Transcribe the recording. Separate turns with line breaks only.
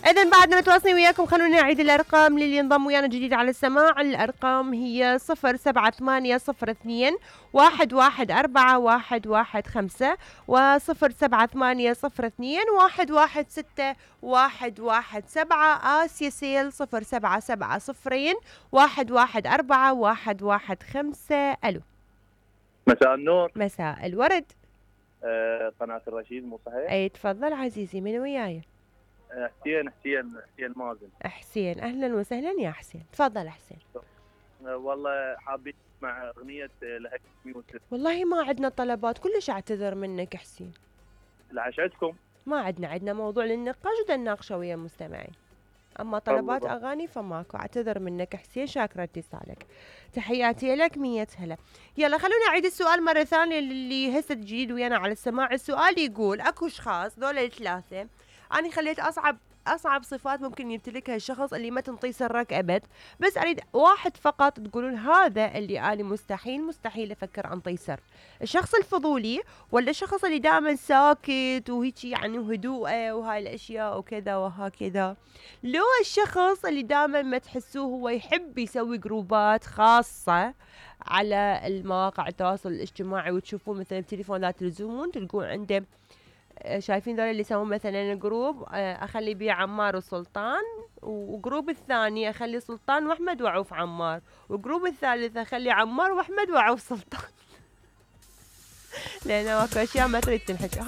إذن بعد ما تواصلين وياكم خلونا نعيد الأرقام للي ينضم ويانا جديد على السماع. الأرقام هي 078002114115 و0780211617. آسيا سيل 0770114115. ألو.
مساء النور.
مساء الورد.
قناة الرشيد مو صحيح؟
أي تفضل عزيزي، من وياي؟
حسين مازن.
حسين، أهلا وسهلا يا حسين، تفضل حسين.
والله حابين مع أغنية لهجة يوسف.
والله ما عندنا طلبات، كلش أعتذر منك حسين.
العش عندكم؟
ما عندنا موضوع للنقاش ودا نناقشه ويا المستمعين، أما طلبات أغاني فماكو. أعتذر منك حسين، شاكرة اتصالك، تحياتي لك، 100 هلا. يلا خلونا نعيد السؤال مرة ثانية للي هسه جديد ويانا على السماع. السؤال يقول أكو أشخاص دول الثلاثة أنا خليت أصعب صفات ممكن يمتلكها الشخص اللي ما تنطي سرك أبد، بس أريد واحد فقط تقولون هذا اللي أنا مستحيل أفكر أنطي سر. الشخص الفضولي ولا الشخص اللي دائما ساكت وهيجي يعني وهدوءه وهاي الأشياء وكذا وهكذا، لو الشخص اللي دائما ما تحسوه هو يحب يسوي جروبات خاصة على المواقع التواصل الاجتماعي وتشوفون مثلا بتليفونات تلزمون تلقون عنده، شايفين ذول اللي يسوون مثلا جروب اخلي بيه عمار وسلطان، وجروب الثاني اخلي سلطان واحمد وعوف عمار، وجروب الثالث اخلي عمار واحمد وعوف سلطان. لان ماكو اشياء ما تريد تنحكي.